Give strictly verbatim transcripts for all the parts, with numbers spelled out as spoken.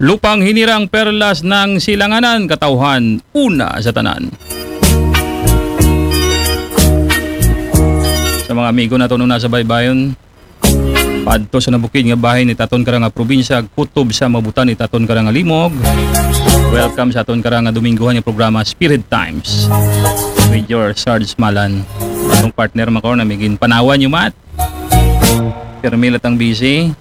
Lupang hinirang, perlas ng silanganan, katawhan, una sa tanan. Sa mga amigo naton una sa baybayon, paadto sa nabukid nga bahin it aton kara nga probinsya, kutob sa mabutan it aton kara nga limog. Welcome sa aton kara nga Dominggohan nga programa, Spirit Times, with your Sarge Malan. Atong partner man karon, na may ginpanawan niyo, Mat. Permi latang busy.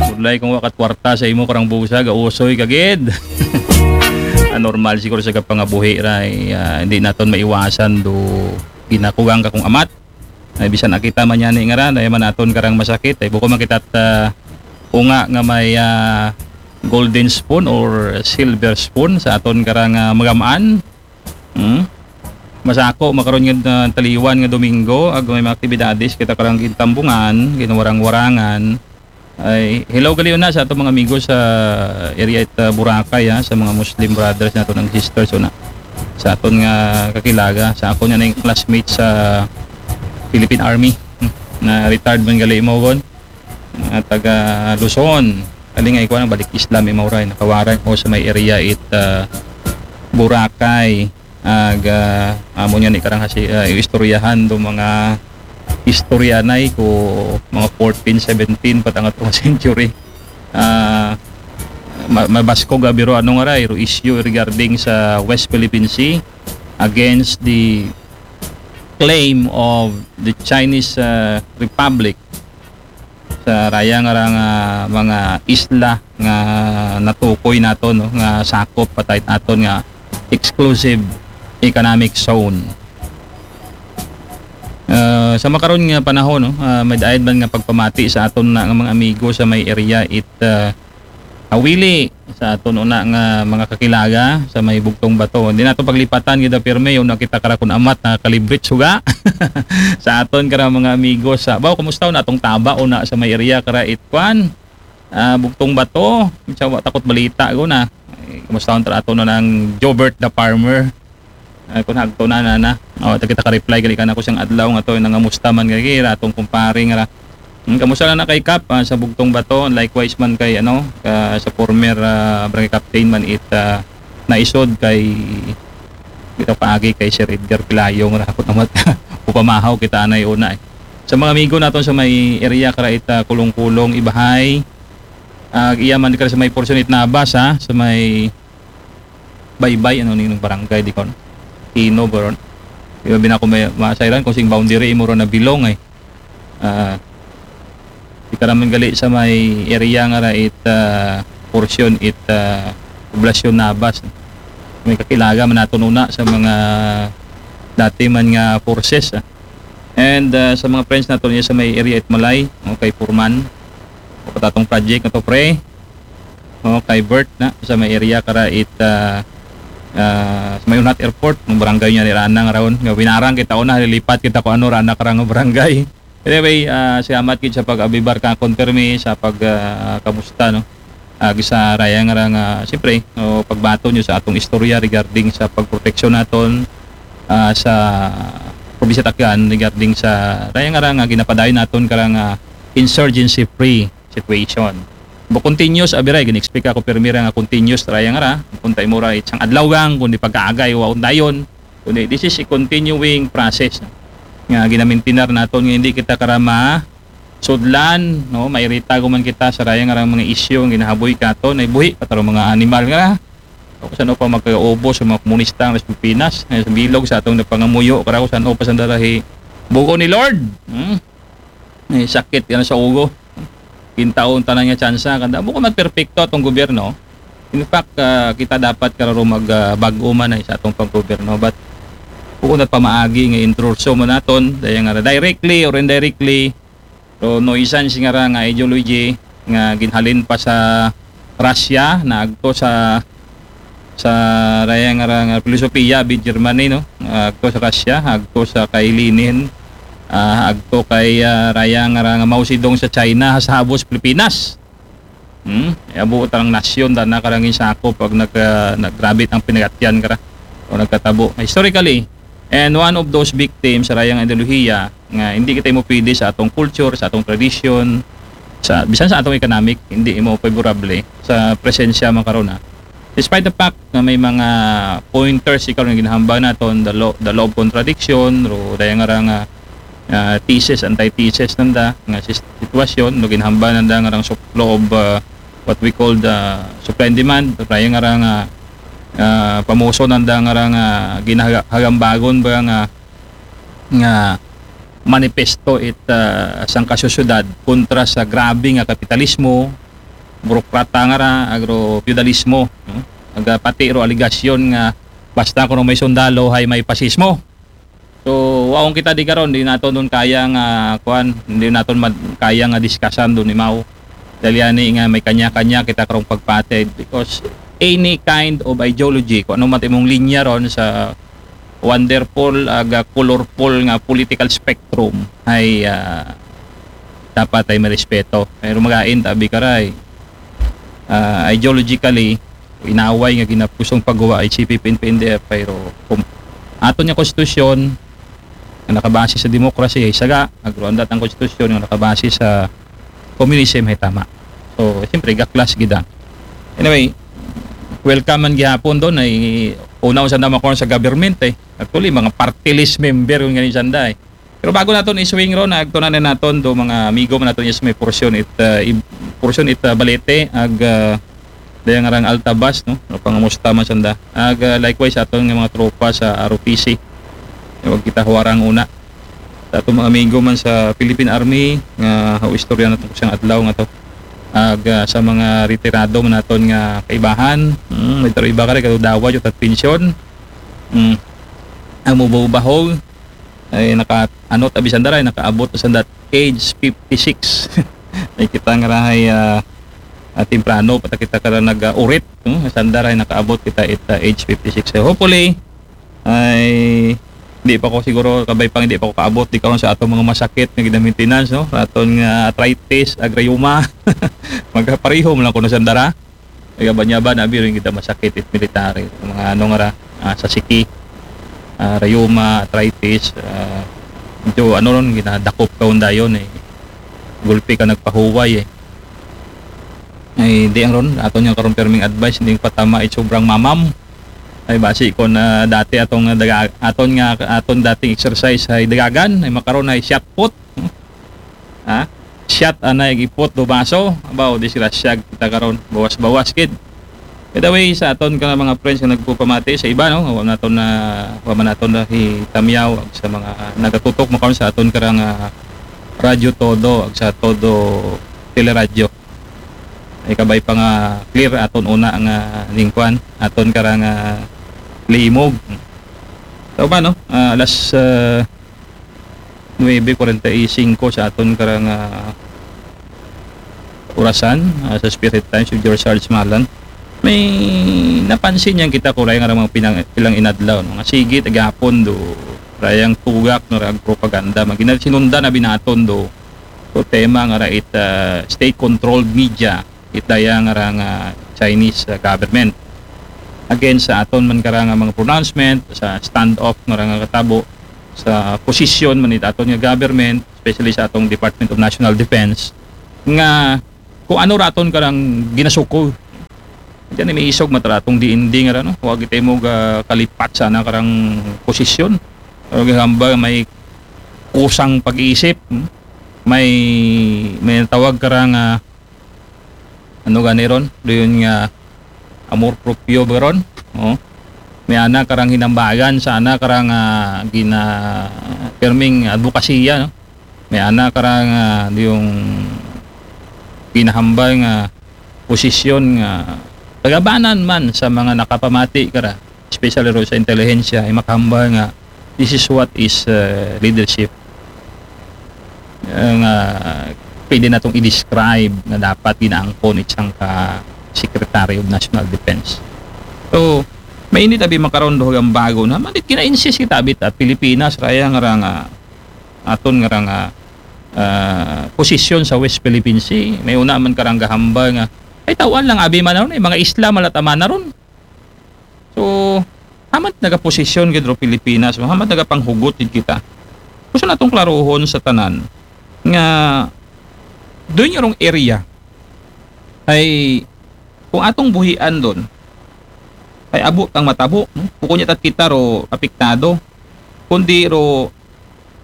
Budlay kung wa ka kwarta sa imo karang busa, gausoy ka gid. Ah, normal siguro sa kapangabuhi ra, eh, ah, hindi naton maiwasan do ginakugang ka kung amat. Ay, bisan nakita man yani nga ra, dahil man aton karang masakit, ay buko man kita ta unga nga may, ah, golden spoon or silver spoon sa aton karang, ah, magamaan. Hmm? Masako makaron nga, ah, taliwan nga Domingo, ag may mga aktibidades kita karang gintambungan, ginwarang-warangan. Ay, hello gali una sa atong mga amigo sa area it, ah, Boracay, ha, sa mga Muslim brothers naton ag sisters una. Sa aton nga kakilaga, sa akon nga na classmate sa Philippine Army, hmm, na retired man gali mo gon. Mga taga Luzon. Kali nga ikuan, balik Islam, imaw ra, nakawaran ko sa may area it, ah, Boracay. Ag, ah, amo niya ni karang hasi, ah, istoryahan do mga istoryanay ko mga fourteen, seventeen, patangat ko century. Ah, ma-, mabasko ga biro ano nga ra, iro issue regarding sa West Philippine Sea against the claim of the Chinese, ah, Republic sa raya nga ra nga mga isla nga natukoy naton, no, nga sakop pa ta it aton nga exclusive economic zone. Ah, sa makaron nga panahon, no, ah, may daid man nga pagpamati sa aton na nga mga amigo sa may area it, ah, Awili, sa aton una nga mga kakilaga sa may Bugtong Bato. Hindi nato paglipatan gid pirmi, una kita kara kun amat na kalibrit suga. Sa aton kara mga amigo sa, baw, kumusta na atong taba una sa may area kara it kuan? Ah, Bugtong Bato, sa wa takot balita ko na. Eh, kumusta ta aton na ng Jobert the Farmer? Ay, kung hagto na, na, na. O, ta kita ka-reply, gali ka na ko siyang adlaw nga to, nangamusta man gali, ra atong kumpare nga ra. Hmm, kamusta na na kay Kap, ah, sa Bugtong Bato? Likewise man kay, ano, ka, sa former, ah, barangay captain man it, ah, naisod kay, kita paagi kay Sir Edgar Pilayong ra ako naman. Upamahaw kita anay una, eh. Sa mga amigo naton sa may area kara it, ah, Kulong-Kulong, Ibahay, ah, iya man ka sa may portion it Nabas, ha, sa may Baybay, ano, ning barangay, di kon Ino, bro. Di ba, bina ko may masayran kung sing boundary imo ro na bilong, eh. Ah, di ka naman gali sa may area nga ra it, ah, portion it, ah, Poblasyon Nabas. May kakilaga man naton una sa mga dati man nga forces, ah. And, ah, sa mga friends naton niya sa may area it Malay, o kay Purman, o katatong project na to, pre. O, kay Bert na, sa may area kara it, ah, ah, sa may Unhat Airport, ng barangay niya ni Ranang raon. Nga winarang kita una, lilipat kita ko ano, Rana karang barangay. Anyway, ah, salamat gid sa pag-abibar ka, konfirme sa pag, ah, kamusta, no? Ag sa raya nga ra nga, siyempre, no, pagbato nyo sa atong istorya regarding sa pagproteksyon naton, ah, sa probinsya Tacloban regarding sa raya nga ra nga ginapadayon naton karang, ah, insurgency free situation. Bu continuous, abiray, gin-expect ako pirmi ra nga continuous, raya nga ra, punta imo ra, isang adlaw gang, kundi pagkaagay, wa undayon, kundi this is a continuing process, no? Nga ginamintinar naton, nga hindi kita karama sudlan, no? Mairita ko man kita sa raya nga ra mga issue, ang ginahaboy kato, na buhi, pataro mga animal nga ra. O saan pa magkaubo sa mga komunista ng Pilipinas, eh, sa bilog sa atong napangamuyo, kara ko saan pa sa darahi. Buko ni Lord, hmm? Eh, sakit yan sa ugo. Kintaon tanan nga tsansa, kanda, buko man perpekto atong gobyerno. In fact, ah, kita dapat kararo mag, ah, bag-o man ay sa atong paggobyerno. But, buko na pamaagi nga intruso mo naton, daya nga ra directly or indirectly, so, no, isan si nga ra nga ideology nga ginhalin pa sa Russia, na agto sa, sa raya nga ra nga filosofiya, bi Germany, no? Agto sa Russia, agto sa kay Lenin, ah, agto kay, ah, raya nga ra nga Mao Zedong sa China, sa habos Pilipinas. Hmm? Abo tarang nasyon, dana karang insako pag nag, ah, nagrabit ang pinagatyan kara o nagkatabo. Historically, and one of those victims sa rayang ideolohiya nga hindi kita mo pwede sa atong culture, sa atong tradition, sa bisan sa atong economic, hindi mo favorable sa presensya man karon, ha. Despite the fact nga may mga pointers ikaw nga ginahambal naton, the law, the law of contradiction, ro daya nga ra nga, ah, thesis, antithesis nanda nga sis- sitwasyon, no, ginahambal nanda nga rang sup- law of, ah, what we call the supply and demand, daya nga ra nga, ah, pamuso nanda nga ra nga ginahagambagon ba nga nga manifesto it, ah, sangka sosyedad kontra sa grabe nga kapitalismo, burokrata nga ra, agro-feudalismo, no? Aga pati ro aligasyon nga basta kuno may sundalo hay may pasismo. So, waong kita di karon, di naton dun kaya nga, kuan, hindi naton mad- kaya nga diskasan dun imaw. Dahil yani nga may kanya-kanya kita karong pagpatid because any kind of ideology, kung ano man imong linya ron sa wonderful, aga colorful nga political spectrum ay, ah, dapat ay marespeto. Pero magain tabi karay, ah, ideologically, inaway nga ginapusong pagguwa ay C P P N P N D F, pero kung aton nga konstitusyon nga nakabase sa demokrasya ay saga, agruandat ang konstitusyon nga nakabase sa communism ay tama. So, siyempre, gaklas gida. Anyway, welcome man gihapon doon ay una sa naman sa government eh. Actually, mga party list member yung ganyan sanda eh. Pero bago naton i-swing ron, agto na naton do mga amigo man naton is may portion it, uh, i- portion it, uh, balete ag, uh, dayang arang Altabas, no? No, pangamusta man sanda. Ag, uh, likewise aton nga mga tropa sa R O P C. Wag kita huwarang una. Sa atong mga amigo man sa Philippine Army nga istorya naton sa adlaw nga to. Ag, uh, sa mga retirado man naton nga kaibahan, mm, may taro iba ka rin, kadaway, yung pension. Mm. Ang mubahog ay naka ano tabi sanda ray nakaabot sa sanda age fifty-six. Ay kita nga rahay, ah, ah, temprano pata kita kara nag-urit, no? Sanda ray nakaabot kita it, ah, age fifty-six. So hopefully ay di pa ko siguro kabay pang di pa ko kaabot di karon sa atong mga masakit nga gina-maintenance, no? Aton nga arthritis, ag rayuma. Magkapareho man lang kuno sanda ra. Nagabanyaba na abi rin kita masakit it military. Mga ano nga ra, ah, sa siki, ah, rayuma, arthritis, ah, medyo ano ron, ginadakop ka undayon eh. Gulpi ka nagpahuway eh. Ay, di ang ron, aton nga karon perming advice, hindi patama it sobrang mamam. Ay, basi ko na dati atong daga, aton nga, aton dating exercise ay dagagan, ay makaron ay shot put. Ha? Shot anay ipot do baso. Abaw, disgrasya kita karon. Bawas-bawas kid. By the way, sa aton ka mga friends nga nagpupamati sa iba, no? Wa naton na, wa man naton na hitamyaw ag sa mga nagatutok makaon sa aton karang, ah, Radyo Todo ag sa Todo Teleradyo. Ay kabay pa nga clear aton una nga lingkuan, aton karang, ah, limog. Tao ba, no? Ah, alas, ah, nuebe kuwarenta y singko sa aton karang, ah, orasan, ah, sa Spirit Times with George Sarge Malan. May napansin yang kita kuray nga mga pinang, ilang inadlaw, no? Nga sige, tagahapon do, rayang tugak, no, rayang propaganda. Magina sinundan na binaton do, do tema nga rait, ah, state-controlled media, itaya nga ra nga Chinese, ah, government. Again, sa aton man karang mga pronouncement, sa standoff nga ra nga katabo, sa posisyon man it aton nga government, especially sa atong Department of National Defense, nga kung ano raton karang ginasukol. Diyan may isog mataratong D N D nga ra, no? Huwag ito mo ga kalipat sana karang posisyon. O gahamba may kusang pag-iisip, hmm? May, may tawag karang, ah, ano gani ron? Doon nga amor proprio ba ron? Oh. May ana karang hinambagan sa ana karang, ah, gina perming advokasya, no? May ana karang, ah, yung ginahambal nga posisyon nga kagabanan man sa mga nakapamati kara, especially ro sa intelihensya, ay makahambal nga this is what is, uh, leadership. Uh, nga pwede natong i-describe na dapat ginaangkon isang ka Secretary of National Defense. So, mainit abi makaron do hagang bago na manit gina-insist kita abit at Pilipinas raya nga ra nga aton nga ra nga, ah, posisyon sa West Philippine Sea. May una man karang gahambal nga ay tawan lang abi man ron, eh, mga isla malataman na ron. So, hamat nagaposisyon gid ro Pilipinas, hamat nagapanghugot gid kita. Gusto natong klaruhon sa tanan nga Doon yung area ay kung atong buhian doon, ay abo tang matabo, no? Bukon niya tat kita ro apektado, kundi ro,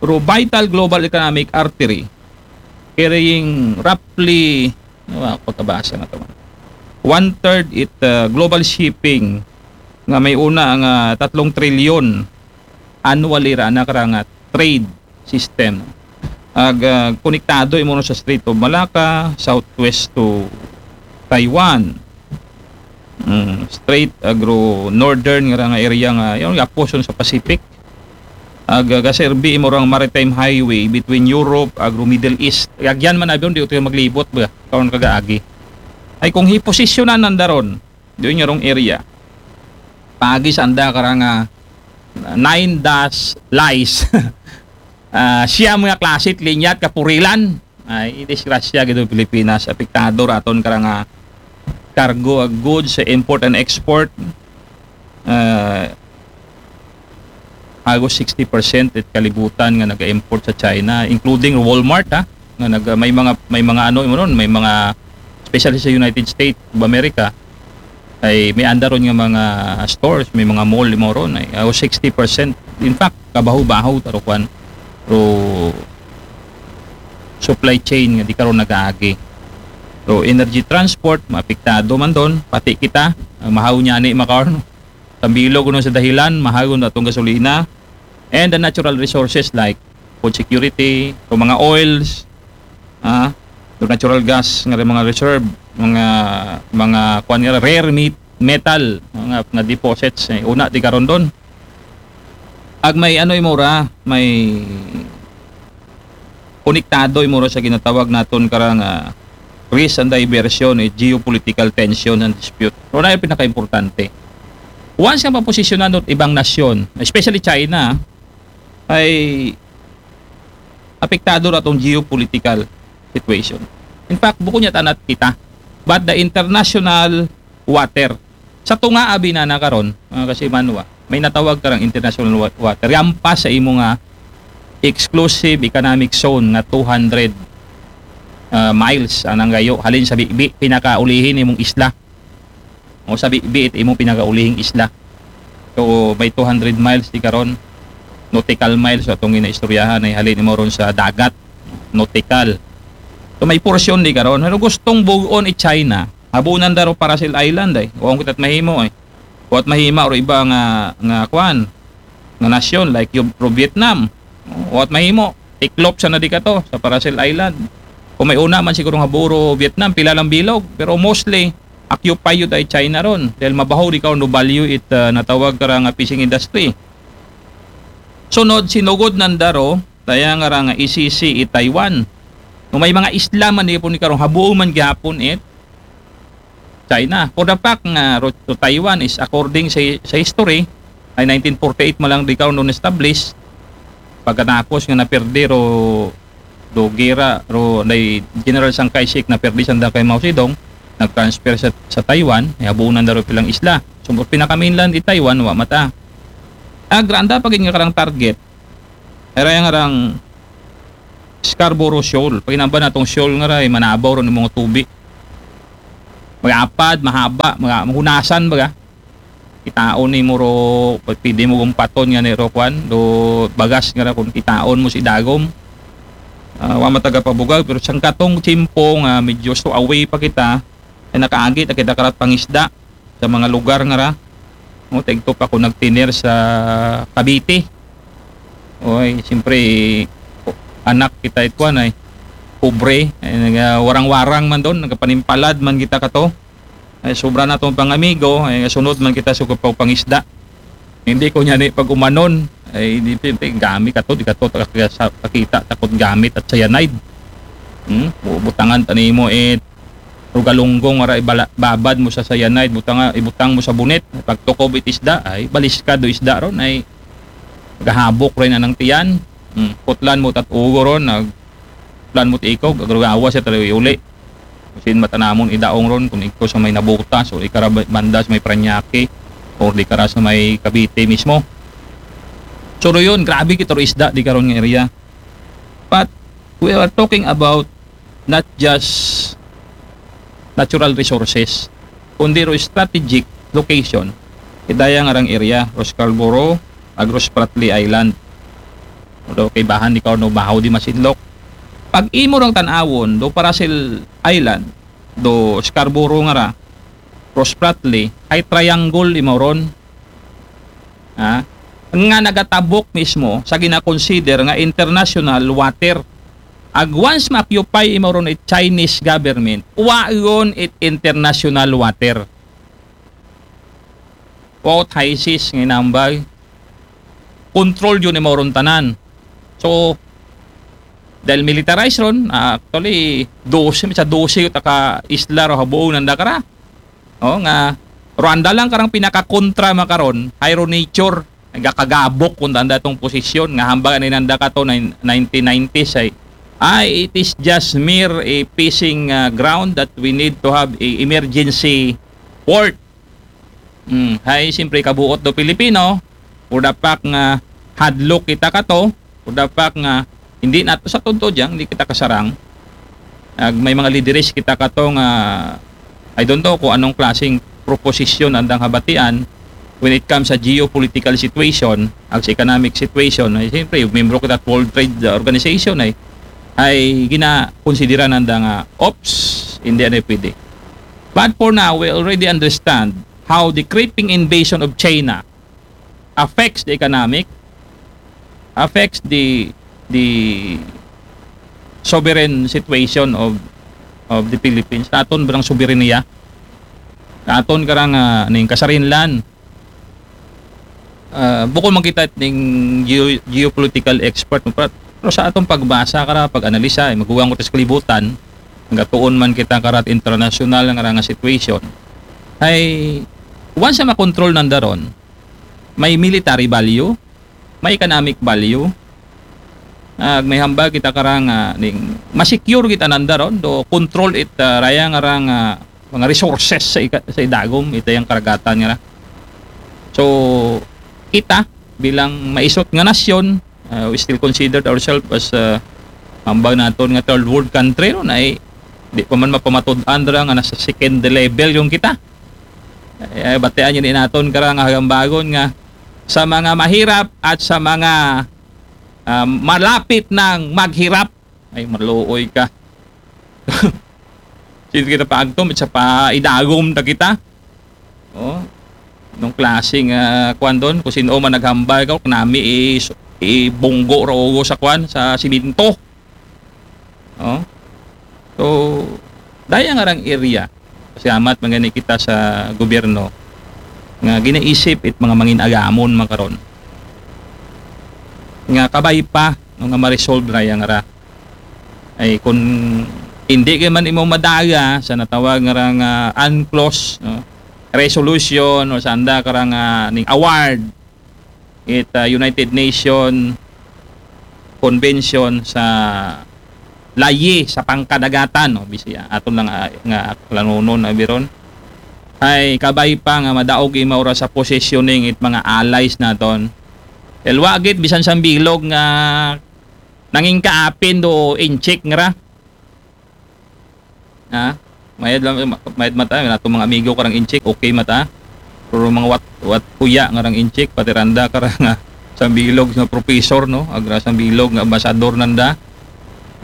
ro vital global economic artery carrying roughly, ano ba, pagkabasa na to, one third it uh, global shipping nga may una nga tatlong trilyon annually ra na karang trade system. Ag uh, konektado imo sa Strait of Malacca, southwest to Taiwan. Mm, straight agro northern nga nga area nga yung apos sa Pacific. Ag uh, gaserbi imo rang maritime highway between Europe agro Middle East. Agyan man abyon di utoy maglibot ba karon kagaagi. Ay kung hiposisyonan nanda ron, doon yung area. Pagi sa anda karang uh, nine dash lies. Uh, siya mga klasit, linyat, kapurilan. Ay, disgrasya gito Pilipinas. Apektado raton karang uh, cargo of goods sa import and export. Uh, halos sixty percent it kalibutan nga nag-import sa China, including Walmart ha, nga nag may mga may mga ano mo ron, may mga especially sa United States of America ay may anda ron nga mga stores, may mga mall mo ron ay halos sixty percent. In fact, kabaho-baho taro kwan ro supply chain nga di karon nagaagi. So energy transport, maapektado man doon, pati kita, ang mahaw niya ni makaon. Tambilog kuno sa dahilan, mahal kuno atong gasolina and the natural resources like food security, o mga oils, ah, the natural gas nga mga reserve, mga mga kuan nga rare meat, metal, mga nga deposits eh, una di karon doon. Ag may ano imura, may konektado imura sa ginatawag naton karang uh, risk and diversion, eh, geopolitical tension and dispute. Pero na yung pinaka-importante. Once nga maposisyonan doon ibang nasyon, especially China, ay apektado na itong geopolitical situation. In fact, bukod niya tanat kita, but the international water. Sa tunga abi na na karon, mga kasimanwa, may natawag karang international wa- water. Yampas sa imo nga exclusive economic zone nga two hundred uh, miles anang gayo halin sa bibi pinakaulihin imong isla. O sa bibi it imong pinakaulihing isla. So may two hundred miles di karon, nautical miles so atong ginaistoryahan ay halin imo ron sa dagat, nautical. So may porsyon di karon. Pero gustong bugon i China. Habunan daro para sa Island ay. Wa kita mahimo ay. Wa mahima or iba nga nga kwan nga nasyon like yung pro Vietnam. Wa mahimo. Tiklop sa na di ka to sa Paracel Island. Kung may una man siguro nga buro Vietnam, pila lang bilog. Pero mostly, occupy yun ay China ron. Dahil mabaho di ka no value it uh, natawag ka nga fishing industry. Sunod, sinugod nandaro, taya nga ra nga isisi i Taiwan. No may mga isla man di po ni karong habuo man gihapon it China. For the fact nga ro- to Taiwan is according sa, sa history, ay nineteen forty-eight man lang di karon establish. Pagkatapos nga naperde ro do gera ro nay General Chiang Kai-shek naperde sa kay Mao Zedong, nag-transfer sa, sa Taiwan, ay habunan daro pilang isla. So pinaka mainland di Taiwan wa mata. Agranda pagin nga karang target. Era yang arang Scarborough Shoal. Paginamba natong shoal nga ray manabaw ron mga tubi. Magapad, mahaba, mga mahunasan baga. Kitaon ni mo ro, pwede mo gumpaton nga ni ro kwan, do bagas nga ra kung kitaon mo si dagom. Uh, wa mataga pabugag, pero siyang katong tiyempo nga medyo so away pa kita, ay nakaagi ta kita karat pangisda sa mga lugar nga ra. No, tigto pa ko nagtiner sa Cavite. Oy, siyempre anak kita itwan ay pobre, ay, naga warang-warang man doon, nagapanimpalad man kita kato. Ay sobra na tong pangamigo, ay sunod man kita sa kapaw pangisda. Hindi ko niya ni pag umanon, ay di gamit kato, di kato kakita takot gamit at cyanide. Hmm? Butangan tanimo it Rugalunggong ara ibala, babad mo sa cyanide, butang, ibutang mo sa bunit, pagtukob it isda, ay baliskad do isda ron, ay gahabok rin anang tiyan. Hmm. Putlan mo tat ugo ron, nag putlan mo tikog, agrugawa siya talo uli. Sin matanamon idaong ron, kung ikaw sa may nabuta, so ikarabanda sa may Paranaque, or di kara sa may Cavite mismo. So yun, grabe kita ro isda di karon nga area. But we are talking about not just natural resources, kundi ro strategic location. Ita ya ngarang area, ro Scarborough, ag ro Spratly Island. Although kaibahan di karon, bahaw di masidlok. Pag imo rang tan-awon, do Paracel Island, do Scarborough ngara, ro Spratly, hay triangle imo ron. Ha? Nga nagatabok mismo sa gina-consider nga international water. Ag once ma-occupy imo ron it Chinese government, wa ron it international water. Wa ot high seas nga inambag. Control yun imo ron tanan. So, dahil militarized ron, ah, actually, dose, sa dose ot ka isla ro ha buong nanda kara. O, nga, ro anda lang karang pinakakontra makaron, hay ro nature, nagakagabok kun anda tong posisyon, nga hambag ani nanda kato, nine-, nineteen nineties ay, ay, it is just mere a fishing, ah, ground that we need to have a emergency port. Hmm, hay, siyempre, kabuot do Pilipino, for the fact nga hadlok kita kato, for the fact nga hindi nato sa tunto dyan, hindi kita kasarang. Ag may mga lideres kita kato nga, I don't know kung anong klaseng proposisyon andang habatian when it comes sa geopolitical situation, ag sa economic situation. Ay, siyempre, membro kita World Trade Organization ay, ay ginakonsidera nanda nga, ops, hindi ano pwede. But for now, we already understand how the creeping invasion of China affects the economic, affects the the sovereign situation of of the Philippines. Aton barang soberanya? Aton karang, ah, ning kasarinlan. Ah, bukon man kita ning geo-, geopolitical expert, no, pero, pero sa atong pagbasa kara, pag-analisa, eh, maguwang ko sa kalibutan, nagatuon man kita karat international nga, nga situation. Ay, once na makontrol nanda ron, may military value, may economic value, ag may hambal kita karang, ah, ning masecure kita nanda ron, do control it, ah, raya nga rang, ah, mga resources sa ika-, sa idagom, ita yang karagatan nga ra. So, kita, bilang maisot nga nasyon, ah, we still considered ourselves as, ah, hambal naton nga third world country, no, na, eh, di pa man mapamatud-an ra nga nasa second level yung kita. Eh, batian yun naton karang hagambagon nga sa mga mahirap at sa mga, ah, malapit ng maghirap. Ay, maluoy ka. Sino kita pa agto, sa pa idagom ta kita. Oh, nung klaseng, ah, kwan doon, kung sino man naghambal ka, kung nami i-, ibunggo ra ugo sa kwan, sa siminto. Oh. So, daya nga rang area. Salamat man gani kita sa gobyerno nga ginaisip it mga mangin-agamon makaron nga kabay pa, no, nga ma-resolve ra yang ra. Ay, kung hindi kay man imo madaya sa natawag nga ra nga UNCLOS, no, resolution o sanda ka ra nga ning award it, ah, United Nation Convention sa layi sa pangkadagatan, no, bisi, ah, aton lang, ah, nga lanunon na biron. Ay, kabay pa nga madaog imaw ra sa positioning it mga allies naton. Elwa gid, bisan sa bilog nga nanging kaapin do inchik nga ra. Ha? Mayad lang, ma-, mayad mata, nato mga amigo karang inchik, okay mata. Pero mga wat, wat kuya nga rang inchik, pati randa karang, ah, sambilog nga professor, no? Agra sambilog nga ambasador nanda.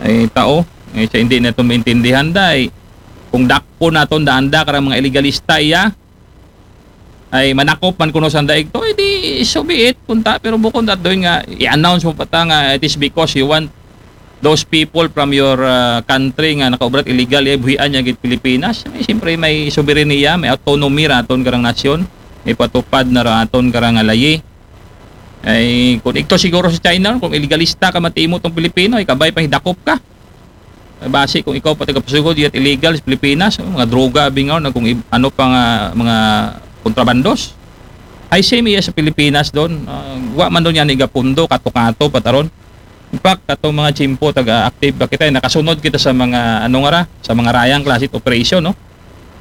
Ay, tao, ay, siya hindi nato maintindihan, day. Kung dakpo naton da anda karang mga ilegalista, iya, ay manakop man kuno sa daig to, eh, di so be it, kunta, pero bukon that doon nga, i-announce mo pa ta nga it is because you want those people from your, ah, country nga nakaubrat illegal, eh, buhian niya gid Pilipinas. May, siyempre, may soberanya, may autonomy raton karang nasyon, may patupad na raton karang layi. Ay, kung ikaw siguro sa China, kung ilegalista ka, matimo tong Pilipino, ikabay pang hidakop ka. Basi kung ikaw pati kapasugod, yet illegal sa Pilipinas, oh, mga droga, bingaw, na kung ib-, ano pa nga, mga kontrabandos. Ay, same iya sa Pilipinas doon. Ah, wa man doon yan igapundo, kato-kato, pataron. In fact, katong mga tiyempo, taga-active ba kita, nakasunod kita sa mga, ano nga ra, sa mga rayang klase operation, no?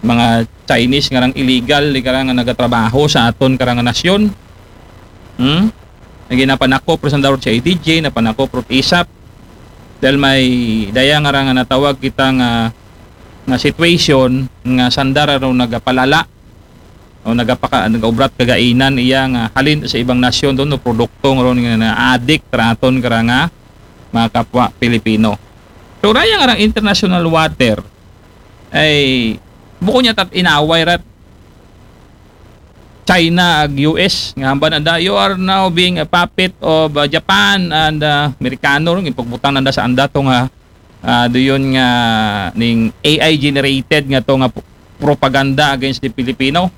Mga Chinese nga rang illegal, di karang nagatrabaho sa aton karang nasyon. Hmm? Ang ginapanakop, pero sa daw sa A D G, napanakop, pero isap. Dahil may daya nga ra nga natawag kita nga, nga situation nga sanda ra ron nagapalala o nagapaka-, nagaubrat kagainan iya nga halin sa ibang nasyon doon, no, produkto nga ron nga naadik raton kara nga mga kapwa Pilipino. So, raya nga rang international water ay bukon niya tat inaway rat China ag U S nga hambal nanda, "You are now being a puppet of, uh, Japan and, uh, Amerikano," ron, ipagbutang nanda sa anda to nga, ah, do yun nga ning A I generated nga to nga p-, propaganda against the Filipino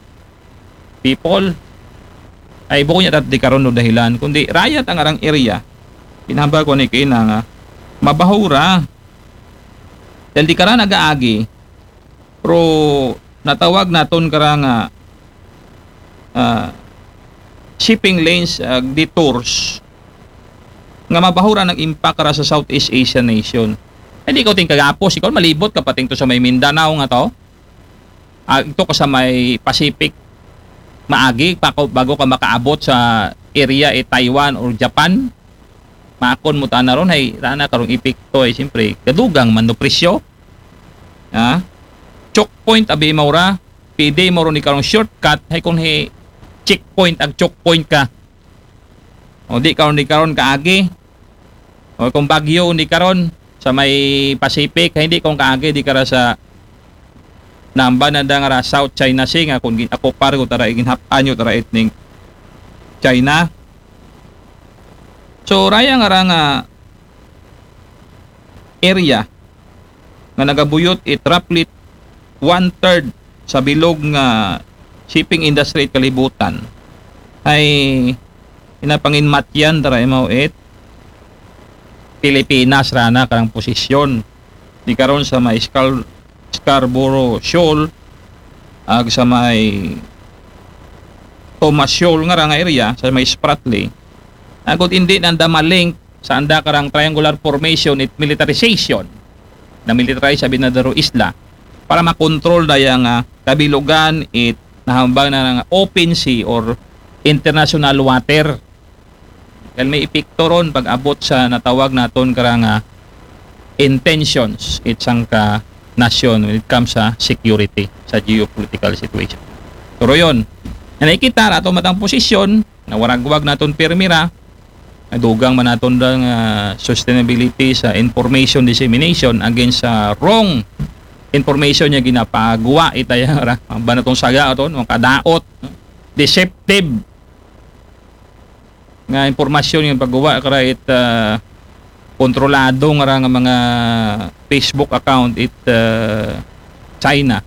people. Ay, bukon niya tat di karon no dahilan, kundi raya ta nga rang area. Kinahambal ko ni kina nga mabaho ra. Dahil di kara nagaagi, pero natawag naton kara nga, ah, shipping lanes, ah, detours nga mabaho ra nang impact ra sa Southeast Asian nation. Ay, di ko ting kagapos, ikaw malibot ka pating to sa may Mindanao nga to. Ah, ito ka sa may Pacific, maagi pa ko, bago ka makaabot sa area, eh, Taiwan or Japan. Makon mo tana ron, ay, rana karong epekto, ay, siyempre, gadugang man no presyo. Ha? Choke point, abi mo ra, pwede mo ron ni karong shortcut, ay, kung hi checkpoint, ag choke point ka. O di karon, di karon kaagi. O kung bagyo, di karon sa may Pacific, hindi kung kaagi, di kara sa namba na da nga ra South China Sea, nga kung gin-, ako par ko tara, iginhap-an nyo tara itning China. So, raya nga ra nga area nga nagabuyot it roughly one-third sa bilog nga shipping industry it kalibutan, ay inapanginmatyan tara imaw it Pilipinas rana karang posisyon. Di karon sa may Scar-, Scarborough Shoal, ag sa may Thomas Shoal nga ra nga area, sa may Spratly. Agud hindi nanda malink sa anda karang triangular formation it militarization. Na militarize sa binadaro isla para makontrol daya nga kabilugan it nahambal na nga open sea or international water. Dahil may epekto ron pag-abot sa natawag naton kara nga intentions it sangka nasyon when it comes sa security, sa geopolitical situation. Pero yun, na nakikita ra ato matang posisyon, nawaragwag naton pirmi ra, nadugang man naton dang, ah, sustainability sa information dissemination against sa wrong information niya ginapagawa itaya ra. Ang ba natong saga aton, ang kadaot, no? Deceptive nga impormasyon yung paggawa kara it, ah, kontrolado nga ra nga mga Facebook account it, ah, China.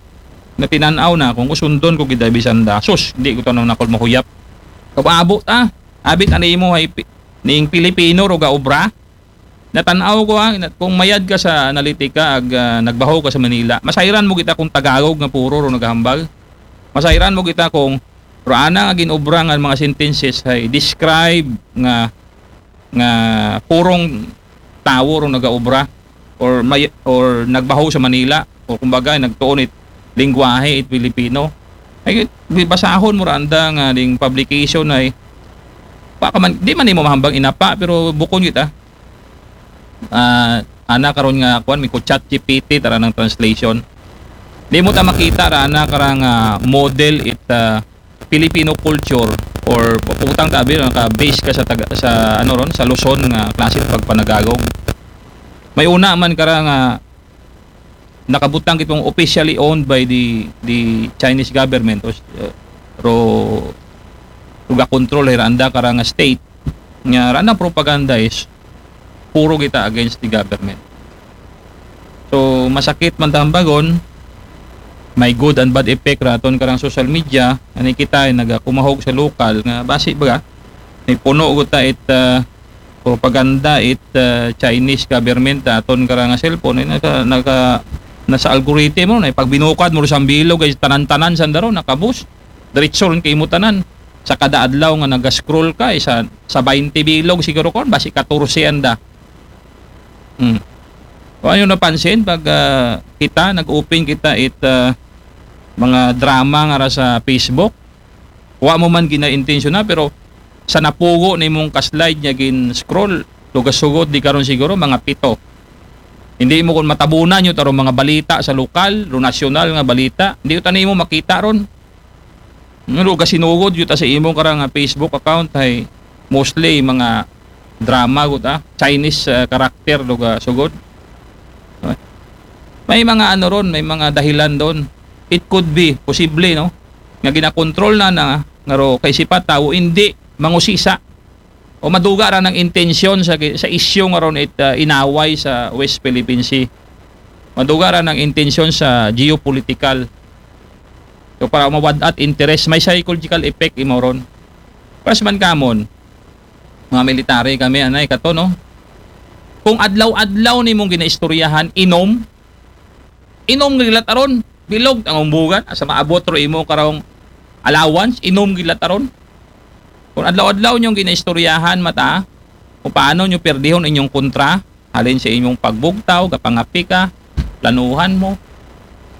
Natinanaw na kung usundon ko gid bisan da. Sus, di ko tanaw na kung mahuyap. Kabaabo ta. Abit ani mo ay pi-, ning Pilipino ro ga obra. Natanaw ko, ah, na-, kung mayad ka sa analitika ag, ah, nagbaho ka sa Manila, masayran mo kita kung Tagalog nga puro ro nagahambal. Masayran mo kita kung ro ana nga ginobra nga mga sentences ay describe nga, nga purong tawo ro nagaobra or may, or nagbaho sa Manila o kumbaga nagtuon it lingwahe it Pilipino. Ay, basahon mo ra anda nga ding publication ay pa ka man, di man nimo mahambang inapa, pero bukon kita. Ah, ana karon nga kuan, may ko Chat G P T tara ng translation. Di mo ta makita ra ana karang, ah, model it, ah, Filipino culture or putang tabi naka-base ka sa taga, sa ano ron, sa Luzon nga klase pagpanagagog. May una man kara nga nakabutang kitong officially owned by the, the Chinese government o, uh, ro, ro ga control hira anda kara nga state nga randang propaganda is puro kita against the government. So, masakit man tambagon, may good and bad effect raton karang social media, ani kita ay nagakumahog sa lokal nga basi baga, may puno guta it, ah, propaganda it, ah, Chinese government aton karang nga cellphone, ay naka, naka, nasa algorithm mo, na pag binukad mo sa bilog ay tanan-tanan sandaro, nakabus, diretso rin kay mo tanan. Sa kada adlaw nga naga-scroll ka, isa, sa twenty bilog siguro kon, basi katorse anda. Hmm. O ano napansin, pag, ah, kita, nag-open kita it, ah, mga drama nga ra sa Facebook, wa mo man ginaintensyon na, pero sa napugo na imong ka-slide niya gin-scroll, lugasugod di karon siguro, mga pito. Hindi mo kun matabunan yun, tarong mga balita sa lokal, ro nasyonal nga balita. Hindi yun, tani mo makita ron. Nga ro, gasinugod yun ta sa imo karang, ah, Facebook account ay mostly mga drama gud, ah, Chinese, ah, character do ga sugod. May mga ano ron, may mga dahilan doon. It could be, posible, no? Nga ginakontrol na na, nga ro, kay sipat tawo, hindi mangusisa. O maduga ra ng intensyon sa, sa isyu nga ron it, ah, inaway sa West Philippine Sea. Maduga ra ng intensyon sa geopolitical. So, para mawad-at interest, may psychological effect imo ron. Pas man kamon, mga military kami, anay, kato, no? Kung adlaw-adlaw nimong ginaistoryahan, inom, inom nga gilat aron, bilog ang umbugan, asa maabot ro imo karong allowance, inom gilat aron. Kung adlaw-adlaw niyong ginaistoryahan, mata, kung paano niyo perdihon inyong kontra, halin sa inyong pagbugtaw, gapangapi ka, planuhan mo,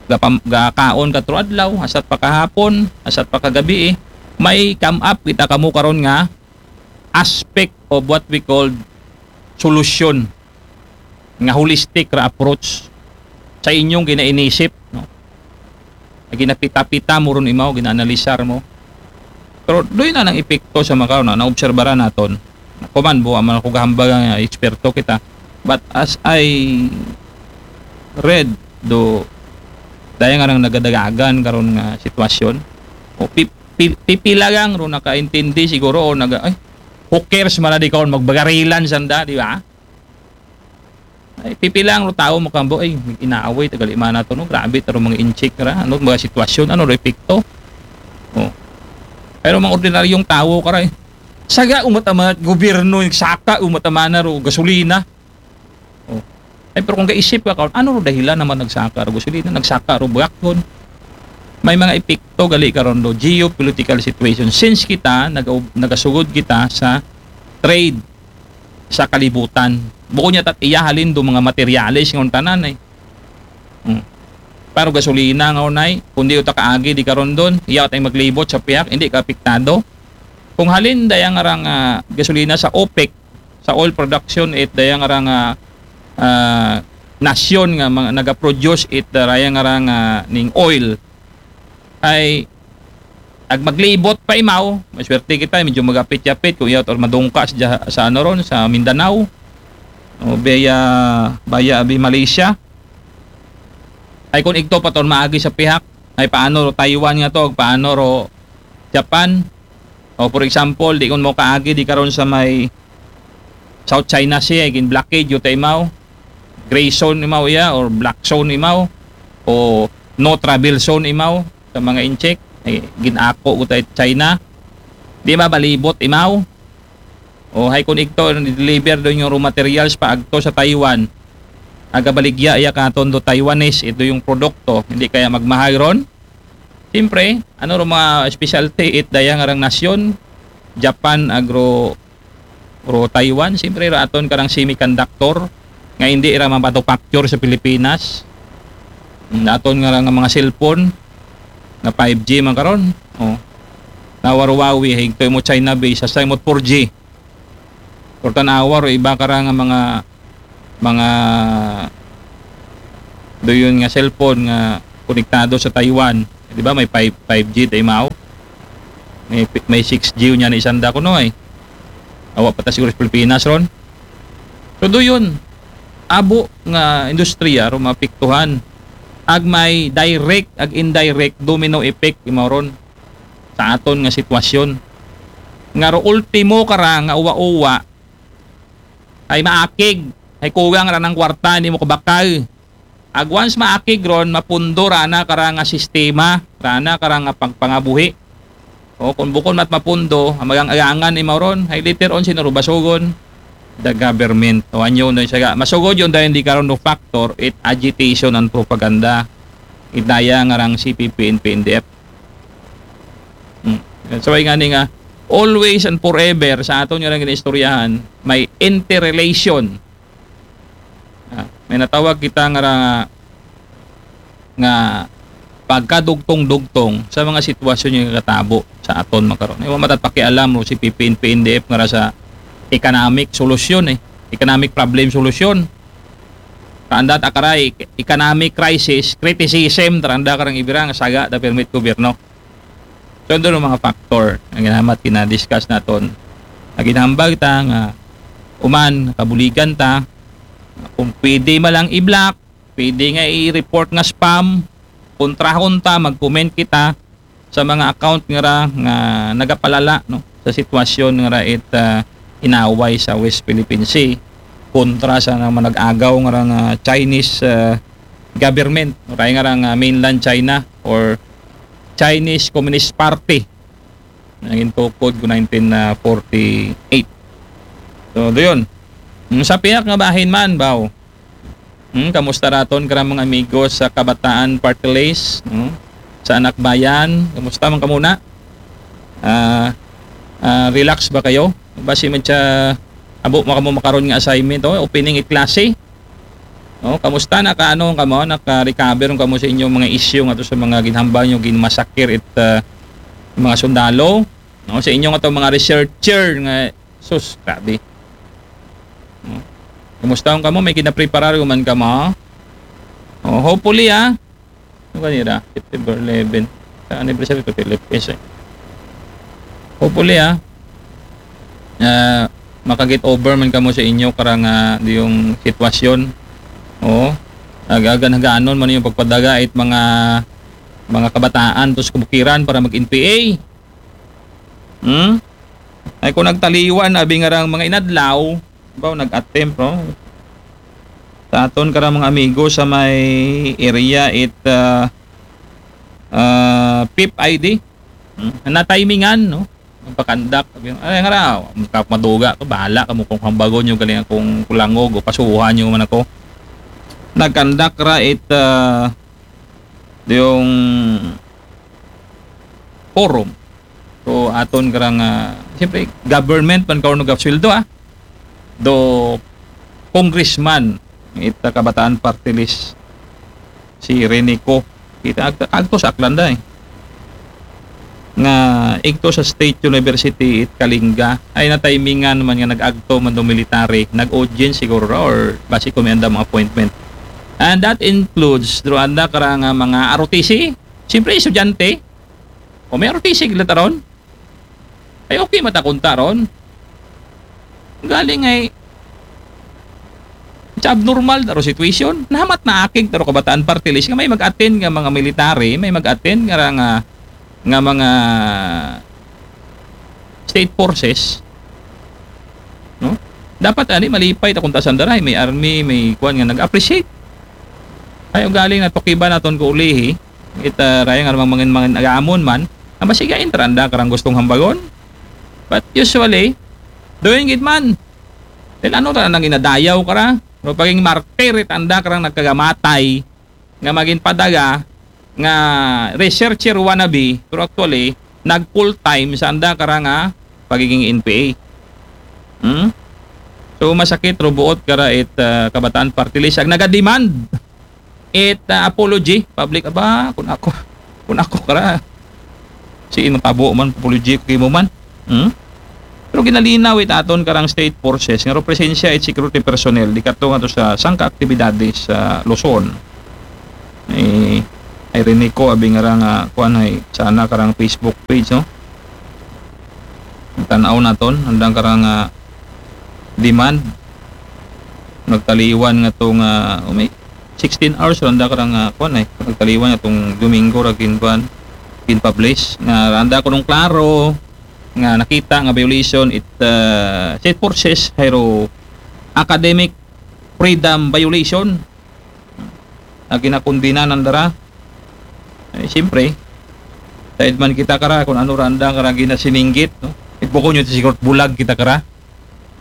gapam-, gakaon ka tro adlaw, asat pa kahapon, asat pa kagabi, eh. May come up kita kamo karon nga aspect of what we called solusyon, nga holistic ra approach sa inyong ginainisip, no? Ginapita-pita mo ron imaw, ginaanalisar mo. Pero doon na ng epekto sa makaw na naobserbaran naton. Kuman, buwa man ako gahambag nga eksperto kita. But as I read, do, daya nga nang nagadagagan karon nga sitwasyon, o pi-, pi-, pipila lang ro nakaintindi siguro o naga, ay, who cares man na di kaon magbagarilan sanda, di ba? Ay, pipila lang ro tao makambo, ay, inaaway, tagali man nato, no? Grabe, taro mga inchik ra, ano, mga sitwasyon, ano, ro epekto. Oh. Pero mga ordinaryong tao, karay, saga umat-ama, gobyerno, yung saka, umat-ama na ro, gasolina. Oh. Ay, pero kung kaisip ka, karon, ano ro dahilan naman nagsaka ro gasolina, nagsaka ro bakon? May mga epekto gali karon do geopolitical situation. Since kita, nag-, nagasugod kita sa trade sa kalibutan. Bukod niya tat iya halin do mga materyales ngon tanan, eh. Hmm. Pero gasolina nga unay, kung di uta kaagi di karon doon, iya tay maglibot sa pihak, hindi ka apektado. Kung halin dayang arang, ah, gasolina sa OPEC, sa oil production, it dayang arang, ah, ah, nasyon nga mga nagaproduce it dayang arang, ah, ning oil, ay ag maglibot pa imaw, maswerte kita, medyo magapit-yapit, kung iyot or madungka sa, sa ano ron, sa Mindanao, o baya, baya abi Malaysia. Ay kung igto pa ton maagi sa pihak, ay paano ro Taiwan nga to, paano ro Japan? O for example, di kun mo kaagi di karon sa may South China Sea, gin blockade yu ta imaw, gray zone imaw iya, or black zone imaw, o no travel zone imaw, sa mga incheck, ay, ginako ko tayo China. Di ba, balibot imaw? O, hay kun igto, deliver doon yung raw materials pa agto sa Taiwan. Agabaligya iya katon do Taiwanese, ito yung produkto, hindi kaya magmahal ron? Siyempre, ano ro mga specialty it dayang arang nasyon? Japan, agro, ro Taiwan, siyempre, ra aton karang semiconductor, nga hindi ra manufacture sa Pilipinas. Mm, aton nga, nga mga cellphone, na five G man karon. Oh. Nawarwawi, higto mo China base, sa mo four G. Or tanawa, ro iba kara nga mga, mga doon nga cellphone nga konektado sa Taiwan. Di ba? May five, five G ta imaw. May, may six G niya na isanda ko, no, eh. Awa pa ta siguro sa Pilipinas ron. So, doon, abo nga industriya, ro maapektuhan. Ag may direct, ag indirect, domino effect, imaw ron sa aton nga sitwasyon. Nga ro ultimo kara nga uwa-uwa, ay maakig, ay kugang ra ng kwarta, hindi mo kabakal. Ag once maakig ron, mapundo ra na kara nga sistema, ra na kara nga pagpangabuhi. O, kung bukon mat mapundo, ang magang-agangan ni Mauron, ay later on, sino ro basugon? The government. O, anyo na siya. Masugod yun dahil di karon no factor, it agitation and propaganda. It daya nga rang C P P and P N D F. Hmm. So, ay nga ni nga, always and forever sa aton nga rang ginaistoryahan, may interrelation. Ah, may natawag kita nga ra-, nga pagkadugtong-dugtong sa mga sitwasyon nga katabo sa aton makaron. Iwa matat pakialam ro si P P N, P N D F nga ra sa economic solusyon, eh. Economic problem solusyon. Kaanda ta kara e-, economic crisis, criticism, ta randa karang ibira nga saga ta permit gobyerno. So, ando nga mga factor nga ginamat, gina-discuss naton. Nga ginahambag ta nga uman, kabuligan ta, kung pwede man lang i-block, pwede nga i-report nga spam, kontrahon ta, mag-comment kita sa mga account nga ra nga nagapalala, no, sa sitwasyon nga ra it, ah, inaway sa West Philippine Sea kontra sa mga nag-agaw nga ra nga Chinese, ah, government, no, kay nga ra nga mainland China or Chinese Communist Party. Naging tukod ko nineteen forty-eight. So, doon. Mm, sa piyak nga bahin man, baw. Hmm, kamusta raton karang mga amigo sa Kabataan Party List, no? Sa Anak Bayan, kamusta man kamo na? Ah, ah, relax ba kayo? Basi man siya, abo, maka-, mo makaron nga assignment, oh, opening it klase. Oh, kamusta, nakaano kamo, naka-recover kamo sa inyong mga issue nga to sa mga ginhambal nyo, ginmasakir it, ah, mga sundalo, no? Sa inyong ato mga researcher nga, sus, grabe. No? Kumusta kamo? May ginapreparar man kamo? Oh, hopefully, ah. Ano kanira? September eleven. Sa anniversary to Philippines, eh. Hopefully, ah. Ah, maka-get over man kamo sa inyo karang, ah, yung sitwasyon. Oo. Ag-, agan-haganon man yung pagpadaga it mga, mga kabataan to sa kabukiran para mag-N P A. Hmm? Ay, kung nagtaliwan, abi nga rang mga inadlaw, baw, nag-attempt, no? Sa aton karang mga amigo sa may area it, ah, ah, pip I D. Hmm? Na-timingan, no? Magpakandak. Sabi, ay, nga ra, maduga to, bahala kamo kung hambagon nyo, galing akong kulangog o pasuhan nyo man ako. Nagkandak ra it, ah, yung forum. So, aton karang, ah, siyempre, government man karon nagapsweldo, ah. Do congressman, ita Kabataan Party List, si Renico. Kita ag-, agto sa Aklanda, eh. Nga igto sa State University it Kalinga, ay na-timingan man nga nag-agto man do military, nag-audience siguro ra or basi ko may andam appointment. And that includes, do anda karang, ah, mga R O T C, siyempre, estudyante. O may R O T C gila ta ron. Ay, okay, matakunta ron. Galing ay, sa abnormal ta ro situation. Nahamat na akig ta ro Kabataan Party List nga may mag-attend nga mga military, may mag-attend nga ra nga, nga mga state forces. No? Dapat ani malipay ta kung tasan daray, may army, may kuan nga nag-appreciate. Ay, ugaling na tukiban naton ko ulihi. Ita raya nga mga mangin-mangin agamon man, ang masigain taranda karang gustong hambagon. But usually, doon gid man. Then ano ta nang inadayaw kara? No, paging martir it anda karang nagkagamatay nga maging padaga nga researcher wannabe, pero actually, nag full time sa anda karang, ah, pagiging N P A. Hmm? So, masakit ro buot kara it, ah, Kabataan Party List. Ag naga-demand it, ah, apology, public, aba, kung ako, kung ako kara, si inutabo man, apology ko kimo man. Hmm? Pero ginalinaw it aton karang state forces nga presensya it security personnel di kato nga to sa sangka aktibidades sa Luzon. Eh, ay rinig ko abi nga ra nga kuan ay sana karang Facebook page, no? Tan-aw naton andang karang, ah, demand. Nagtaliwan nga to nga, oh, may sixteen hours randa karang, ah, kuan ay nagtaliwan nga tong Domingo ra ginkuan, ginpublish nga randa ko nung klaro nga nakita nga violation it, ah, state forces, hayro academic freedom violation. Nga ginakundina nanda ra. Eh, siyempre, taid man kita kara kung ano randa kara ginasiningit, no? Ibuko nyo siguro bulag kita kara.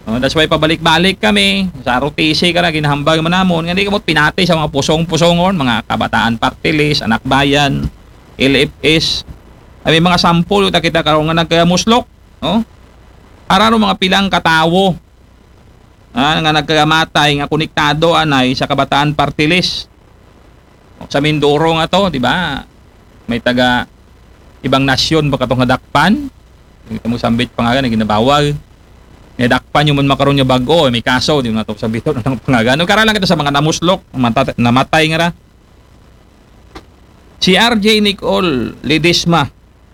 No, that's why pabalik-balik kami sa R O T C kara, ginahambag man namon nga di kamo pinati sa mga pusong-pusongon, mga Kabataan Party List, Anak Bayan, L F S. Ay, may mga sample ta kita karon nga nagkamuslok, no? Para ro mga pilang katawo, ah, nga nagkagamatay nga konektado anay sa Kabataan Party List. Sa Mindoro nga to, di ba? May taga ibang nasyon ba katong nadakpan? Kita mo sambit pa nga nga ginabawal. Nga dakpan nyo man makaron nga bag-o, may kaso, di na to sa bitaw ng pangagan. Kara lang kita sa mga namuslok, mata-, namatay nga ra. Si R J Nicole Ledesma,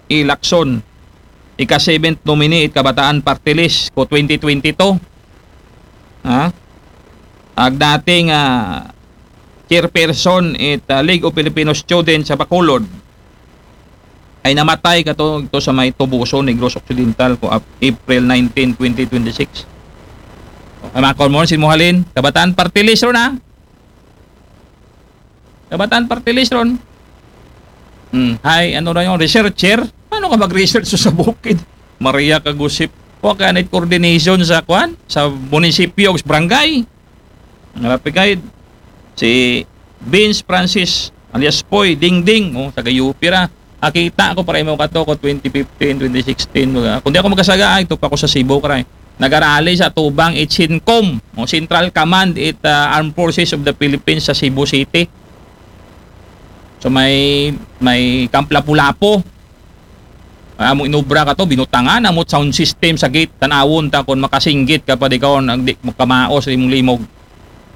Lacson, ika-seventh nominee it Kabataan Party List ko twenty twenty-two. Ha? Ag dating, ah, chairperson it, ah, League of Filipino Students sa Bacolod, ay namatay kato, ito sa may Toboso, Negros Occidental, ko Ap-, April nineteen, twenty twenty-six. Ay, mga kormon, sin mo halin, Kabataan Party List ron, ha? Kabataan Party List ron. Hmm, hay, ano na yung researcher? Ano ka mag-research sa bukid? Maria Kagusip. O ka na coordination sa, kwan? Sa munisipyo, sa barangay. Ang rapid guide, si Vince Francis, alias Poy Dingding, oh, taga U P ra. Akita ako para imo kato ko twenty fifteen, twenty sixteen, mga. Kundi ako magkasaga, ay, ito pa ko sa Cebu, kray. Nagarali sa tubang, it CENTCOM, o Central Command, it, ah, Armed Forces of the Philippines sa Cebu City. So may, may Camp Lapu-Lapu. Amo inobra kato, binutangan, amo sound system sa gate, tanawon ta kung makasinggit ka pa di ka, nag di makamaos, limog-limog.